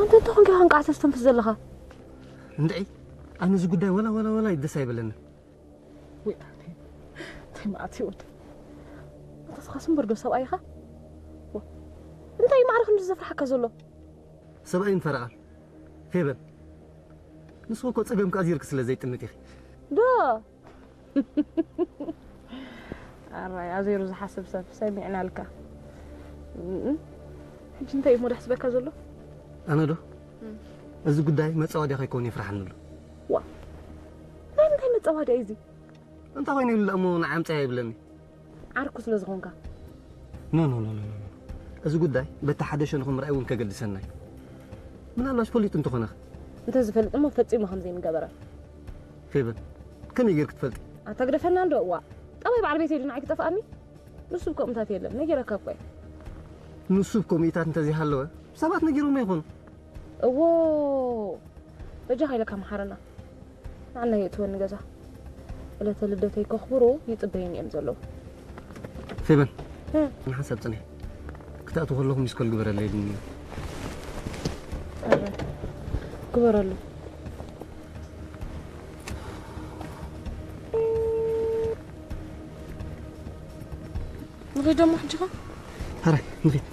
ኣንተ እንተኾንካ ኢኻ እንቃዕ ተስተንፍስ ዘለኻ። እንድዒ፣ ኣነ እዚ ጉዳይ ወላ ወላ ወላ ደስ ኣይበለንን። ወይ ኣነ፣ እንታይ መዓት ህይወት። ኣንተ ስኻስ እምበር ዶ ሰብኣይ ኢኻ? ዋ፣ እንታይ ማዕረ ክንዲ ዘፍርሓካ ዘሎ? ሰብኣይን ፈረቓን። ፌበን፣ ንስኺ እኮ ጸገምካ ኣዚርኪ ስለ ዘይጥምት ኢኺ። ዶ? ኣራይ፣ ኣዜሩ ዝሓስብ ሰብ ሰሚዕናልካ። እም፣ ሕጂ እንታይ እዩ ሞዳ ሕስበካ ዘሎ? ኣነ ዶ? እም። እዚ ጉዳይ መጻወድያ ከይከውን ይፍርሓኒ ኣሎ። ዋ፣ ናይ ምንታይ መጻወድያ እዩ እዚ? እንታይ ኮይኑ ኢሉ እሞ ንዓምጻ ይብለኒ? ዓርኩ ስለ ዝኾንካ። ኖ፣ ኖ፣ ኖ፣ ኖ፣ ኖ። እዚ ጉዳይ በቲ ሓደ ሸነኹ ምርኣይ እውን ከገድሰና እዩ። ምናልባሽ ፈሊጡ እንተኾነ ኸ? እንተዝፈልጥ እሞ ፈጺሙ ከም ዘይምገበረ። ፌበን፣ ከመይ ጌርክ ትፈልጢ? ኣታ ግደፈና እንዶ፣ እዋ። ጠባይ በዓል ቤተይ ድዩ ንዓይ ክጠፍኣኒ? ንሱ ብከምኡታት የለን፣ ነጊረካ እኮ እየ። ንሱ ብከምኡታት እንተዘይሃለወ፣ ሰባት ነጊሮሞ ይኾኑ። እዎ፣ በጃኻ ኢለካ መሓረና። ንዓና የእትወኒ ገዛ። ዕለተ ልደተይ ከኽብሩ ይጽበዩኒ እዮም ዘለዉ። ፌበን፣ እ። ንሓንሳብ ጽንሒ። ክትኣትው ከለኹ ሚስኮል ግበረለይ ኢሉኒ። ኣረ፣ ግበረሉ። ንኸይድ ደሞ ሕጂ ኸ? ሕራይ፣ ንኸይድ።